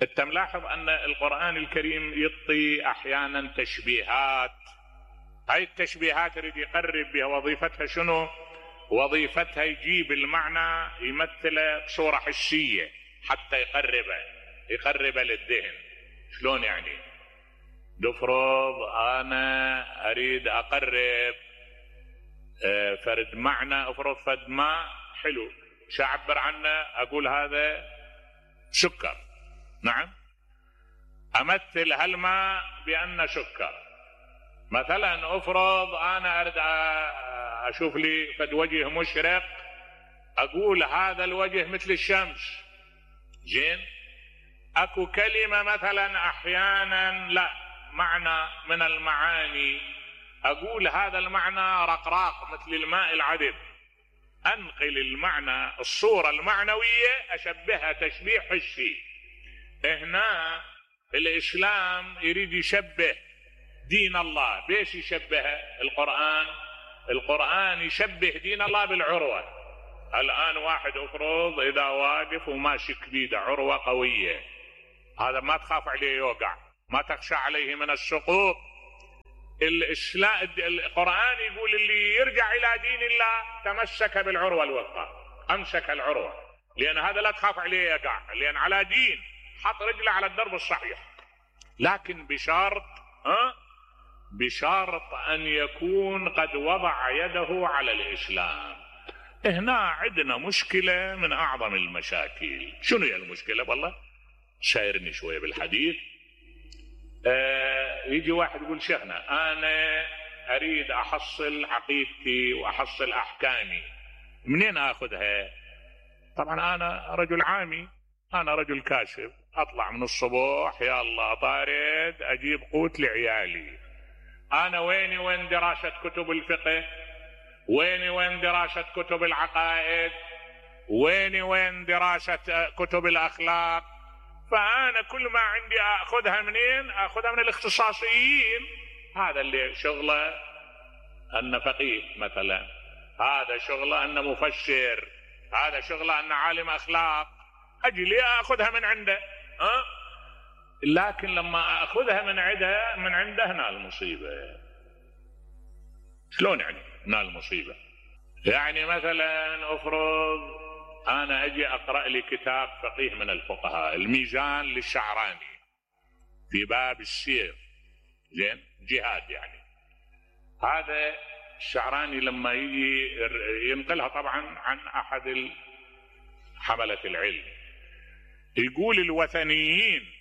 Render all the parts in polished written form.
انت ملاحظ ان القرآن الكريم يعطي احيانا تشبيهات، هاي التشبيهات يريد يقرب بها. وظيفتها شنو؟ وظيفتها يجيب المعنى يمثله بصورة حسية حتى يقربه للذهن. شلون يعني؟ نفرض انا اريد اقرب فرد معنى، افرض فد ماء حلو، شو اعبر عنه؟ اقول هذا سكر. نعم، امثل هالماء بانه سكر. مثلا افرض انا اريد اشوف لي فد وجه مشرق، اقول هذا الوجه مثل الشمس. زين، اكو كلمة مثلا احيانا لا معنى من المعاني اقول هذا المعنى رقراق مثل الماء العذب. انقل المعنى، الصورة المعنوية اشبهها تشبيه حسي. هنا الاسلام يريد يشبه دين الله. بيش يشبهه القرآن يشبه دين الله بالعروة. الان واحد افرض اذا واقف وماسك بيده عروة قوية، هذا ما تخاف عليه يوقع، ما تخشى عليه من السقوط. القرآن يقول اللي يرجع الى دين الله تمسك بالعروة الوثقى، امسك العروة، لان هذا لا تخاف عليه يقع، لان على دين، حط رجله على الدرب الصحيح. لكن بشرط ان يكون قد وضع يده على الاسلام. هنا عندنا مشكلة من اعظم المشاكل. شنو هي المشكلة؟ والله شايرني شوية بالحديث. يجي واحد يقول شيخنا انا اريد احصل عقيدتي واحصل احكامي، منين اخذها؟ طبعا انا رجل عامي، انا رجل كاشف، اطلع من الصبح يا الله طارد اجيب قوت لعيالي. انا وين دراسة كتب الفقه؟ وين دراسة كتب العقائد؟ وين دراسة كتب الاخلاق؟ فانا كل ما عندي اخذها منين؟ اخذها من الاختصاصيين. هذا اللي شغله ان فقيه مثلا، هذا شغله ان مفسر، هذا شغله ان عالم اخلاق، اجي لي اخذها من عنده. لكن لما اخذها من عنده هنا المصيبة. شلون يعني هنا المصيبة؟ يعني مثلا افرض انا اجي اقرأ لي كتاب فقيه من الفقهاء، الميزان للشعراني في باب السير، زين، جهاد يعني. هذا الشعراني لما يجي ينقلها طبعا عن احد حملة العلم، يقول الوثنيين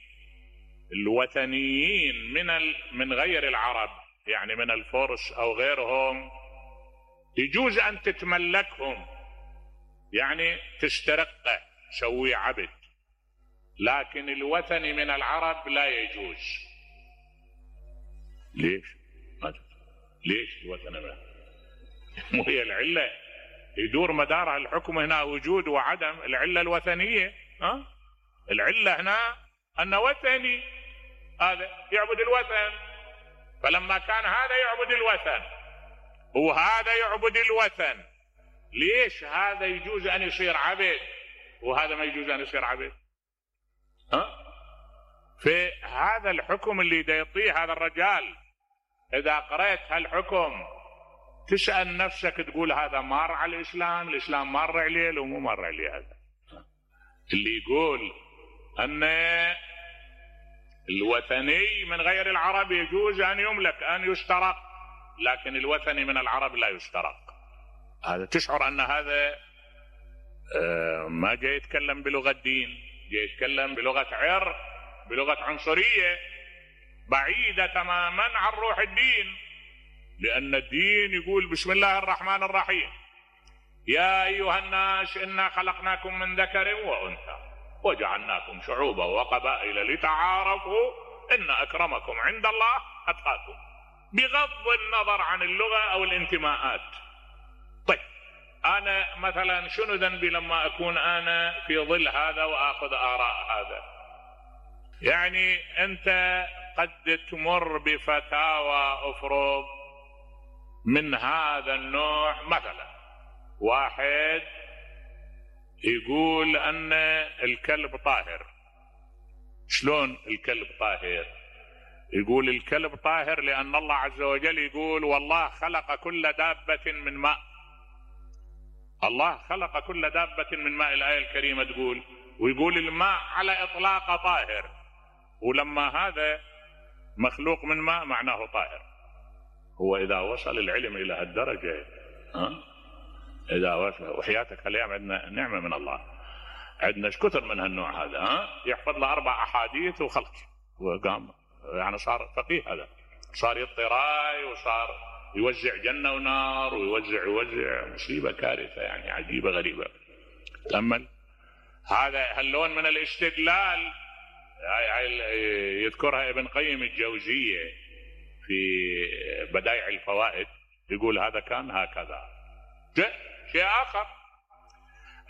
من غير العرب، يعني من الفرس او غيرهم، يجوز ان تتملكهم، يعني تسترقه، تسويه عبد. لكن الوثني من العرب لا يجوز. ليش الوثني ما؟ مو هي العلة يدور مدارها الحكم هنا وجود وعدم، العلة الوثنية. العلة هنا أن وثني هذا يعبد الوثن، فلما كان هذا يعبد الوثن وهذا يعبد الوثن، ليش هذا يجوز أن يصير عبد وهذا ما يجوز أن يصير عبد؟ في هذا الحكم اللي دا يعطيه هذا الرجال، إذا قرأت هالحكم تسأل نفسك تقول هذا مار على الإسلام مار عليه لو مو مار عليه. هذا اللي يقول أن الوثني من غير العرب يجوز أن يملك، أن يسترق، لكن الوثني من العرب لا يسترق. هذا تشعر أن هذا ما جاي يتكلم بلغة دين، جاي يتكلم بلغة عرق، بلغة عنصرية بعيدة تماما عن روح الدين. لأن الدين يقول بسم الله الرحمن الرحيم، يا أيها الناس إنا خلقناكم من ذكر وأنثى وجعلناكم شعوبا وقبائل لتعارفوا إن أكرمكم عند الله أتقاكم، بغض النظر عن اللغة أو الانتماءات. طيب أنا مثلا شنو ذنبي لما أكون أنا في ظل هذا وآخذ آراء هذا؟ يعني أنت قد تمر بفتاوى أفرض من هذا النوع. مثلا واحد يقول أن الكلب طاهر، شلون الكلب طاهر؟ يقول الكلب طاهر لأن الله عز وجل يقول والله خلق كل دابة من ماء. الله خلق كل دابة من ماء، الآية الكريمة تقول، ويقول الماء على إطلاق طاهر، ولما هذا مخلوق من ماء معناه طاهر. هو إذا وصل العلم إلى هالدرجة، إذا وصل، وحياتك هالأيام عندنا نعمة من الله، عندنا كثر من هالنوع هذا، يحفظ له 4 أحاديث وخلص وقام، يعني صار فقيه، هذا صار يطي راي وصار يوزع جنة ونار ويوزع مصيبة كارثة يعني عجيبة غريبة. تأمل هذا هاللون من الاستدلال يذكرها ابن قيم الجوزية في بدائع الفوائد، يقول هذا كان هكذا. شيء آخر،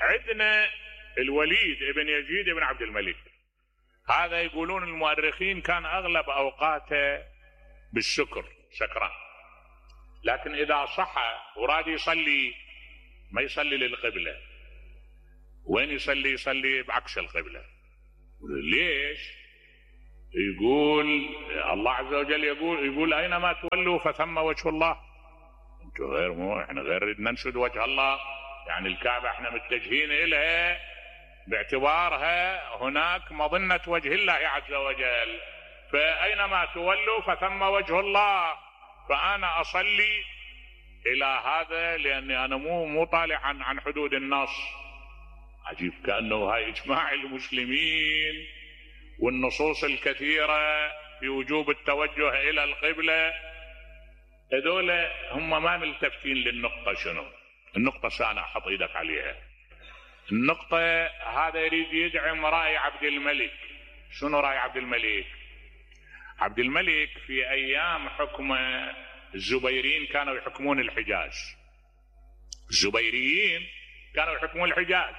عندنا الوليد ابن يزيد ابن عبد الملك، هذا يقولون المؤرخين كان أغلب أوقاته بالسكر، سكران، لكن إذا صحى وراد يصلي ما يصلي للقبلة، وين يصلي؟ يصلي بعكس القبلة. ليش؟ يقول الله عز وجل يقول أينما تولوا فثم وجه الله. انتم غير احنا غير ننشد وجه الله، يعني الكعبة احنا متجهين إليها باعتبارها هناك مظنة وجه الله عز وجل، فأينما تولوا فثم وجه الله، فأنا أصلي إلى هذا لأني أنا مو طالع عن حدود النص. عجيب، كأنه هاي إجماع المسلمين والنصوص الكثيرة في وجوب التوجه إلى القبلة، هذول هم ما ملتفتين للنقطة. شنو النقطة؟ سانا حط إيدك عليها. النقطة هذا يريد يدعم رأي عبد الملك. شنو رأي عبد الملك؟ عبد الملك في أيام حكم الزبيريين كانوا يحكمون الحجاز، الزبيريين كانوا يحكمون الحجاز،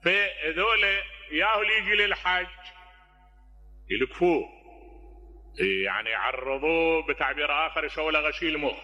فهذول ياهو يجي للحج يلكفوه، يعني يعرضوه، بتعبير آخر يسوي له غسيل مخ،